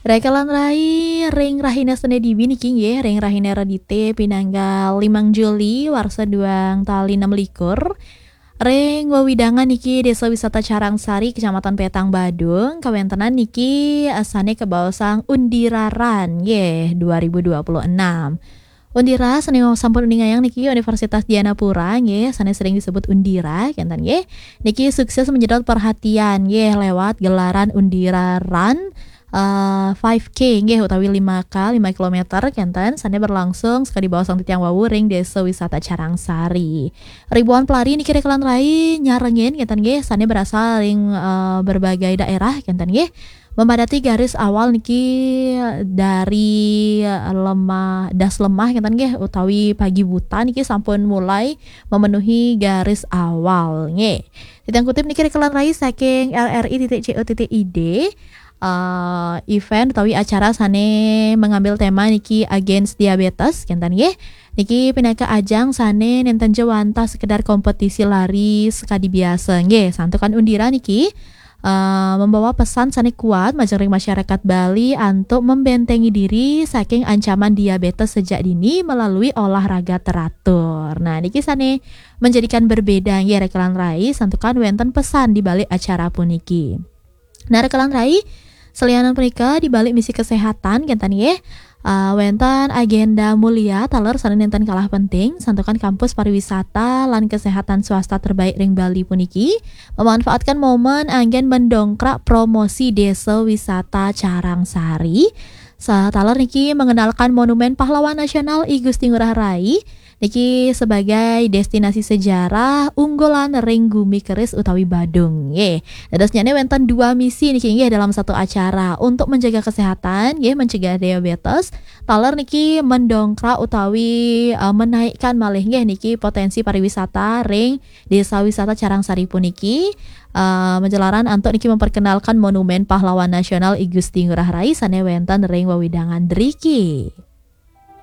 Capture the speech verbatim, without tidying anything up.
Rekelan rai, ring rahina Sene dibi niki nggih, ring rahina Redite pinanggal limang Juli warsa duang tali enam likur. Ring wewidangan niki Desa Wisata Carangsari, Kecamatan Petang, Badung, kawentenan niki, eh, sane kabaosang Undira Run nggih dua ribu dua puluh enam. Undira sane sampun uningayang niki Universitas Dianapura nggih, sane sering disebut Undira kenten nggih. Niki sukses menyedot perhatian nggih lewat gelaran Undira Run, eh, five K nggih, utawi lima K, lima kilometer kenten, sane berlangsung sekadi baosang titiang wau ring Desa Wisata Carangsari. Ribuan pelari niki rekelan rai nyarengin kenten nggih, sane berasal ring, eh, berbagai daerah kenten nggih. Memadati garis awal niki dari lemah, das lemah kenten nggih, utawi pagi buta niki sampun mulai memenuhi garis awal nggih. Titiang kutip niki rekelan rai saking L R I titik C O titik I D. Eh, event utawi acara sane mengambil tema niki Against Diabetes kenten nggih. Niki pinaka ajang sane nenten jawantah sekedar kompetisi lari sekadi biasa nggih. Santukan Undira niki, eh, membawa pesan sane kuat majeng ring masyarakat Bali antuk membentengi diri saking ancaman diabetes sejak dini melalui olahraga teratur. Nah, niki sane menjadikan berbeda nggih rekelan rai, santukan wenten pesan di balik acara puniki. Nah, rekelan rai, salianan punika di balik misi kesehatan kenten nggih, eh, wenten agenda mulia taler sane nenten kalah penting, santukan kampus pariwisata lan kesehatan swasta terbaik ring Bali puniki memanfaatkan momen anggen mendongkrak promosi Desa Wisata Carangsari. Sataler niki mengenalkan Monumen Pahlawan Nasional I Gusti Ngurah Rai niki sebagai destinasi sejarah unggulan ring gumi keris utawi Badung nggih. Dadosnyane wenten dua misi niki nggih dalam satu acara. Untuk menjaga kesehatan nggih, mencegah diabetes, taler niki mendongkrak utawi, eh, menaikkan malih nggih niki potensi pariwisata ring Desa Wisata Carangsari puniki, eh, majalaran antuk niki memperkenalkan Monumen Pahlawan Nasional I Gusti Ngurah Rai sane wenten ring wewidangan driki.